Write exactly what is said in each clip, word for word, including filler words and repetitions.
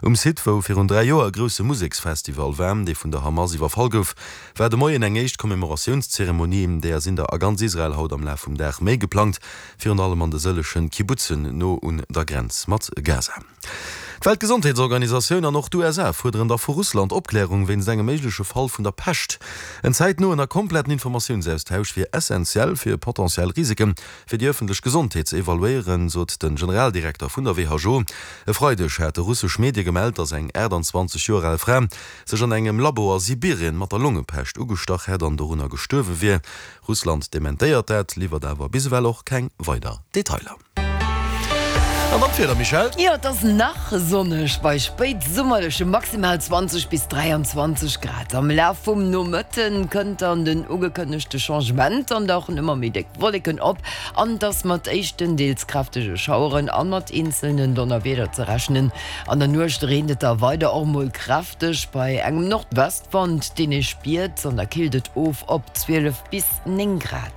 Um Site, wou virun dräi Joer e grousse Museksfestival war, dee vun der Hamas iwwerfall gouf, war de Moien eng éischt Commemoratiounszeremonie. Deeër sinn der a ganz Israel haut am Laf vum Dag méi geplangt, virun allem an de sëllege Kibbutzen no un der Grenz mat Gaza. D'Weltgesondheetsorganisatioun an och d'USA fuerderen da vu Russland Opklärung wéinst engem méigleche Fall vun der Pescht. En zäitnoen a kompletten Informatiounsaustausch wier essentiell fir potentiell Risike fir déi ëffentlech Gesondheet ze evaluéieren, sot de Generaldirekter vun der WHO. E Freideg hate russesch Medie gemellt, datt eng achttanzwanzeg Joer al Fra sech an engem Labo a Sibirien mat der Longepescht ugestach hätt an dorunner gestuerwe wier. Russland dementéiert dat, liwwert awer bis ewell och keng weider Detailer. An dann d'Wieder, Michèle? Jo, et ass nach sonneg bei spéitsummerleche maximal zwanzeg bis dräianzwanzeg Grad. Am Laf vum Nomëtte kënnt dann den ugekënnegte Changement, dann dauchen ëmmer méi déck Wolleken op an et ass mat éischten deels kräftege Schaueren a mat eenzelnen Donnerwieder ze rechnen. An der Nuecht reent et da weider och mol kräfteg bei engem Nordwestwand, deen ee spiert, an da killt et of op zwielef bis néng Grad.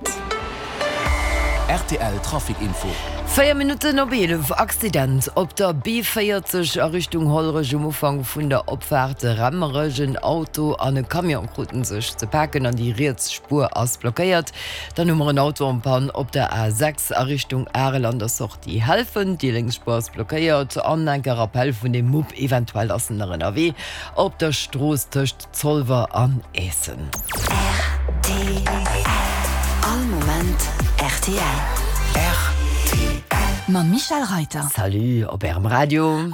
Rtl Trafic Info. Véier Minutten op eelef, Accident op der B véierzeg a Richtung Hollerech um Ufank vun der Opfaart Remmerech. En Auto an e Camion kruten sech ze paken an déi riets Spuer ass blockéiert. Dann hu mer en Auto en panne op der A sechs a Richtung Arel an der Sortie Helfent. Déi lénks Spuer ass blockéiert. An enke Rappell vun dem Mupp, eventuell ass en nach ënnerwee op der Strooss tëscht Zolwer an Eessen. Rtl, All Moment rtl. Rtl. Mam Michèle Reyter. Salut op Ärem Radio.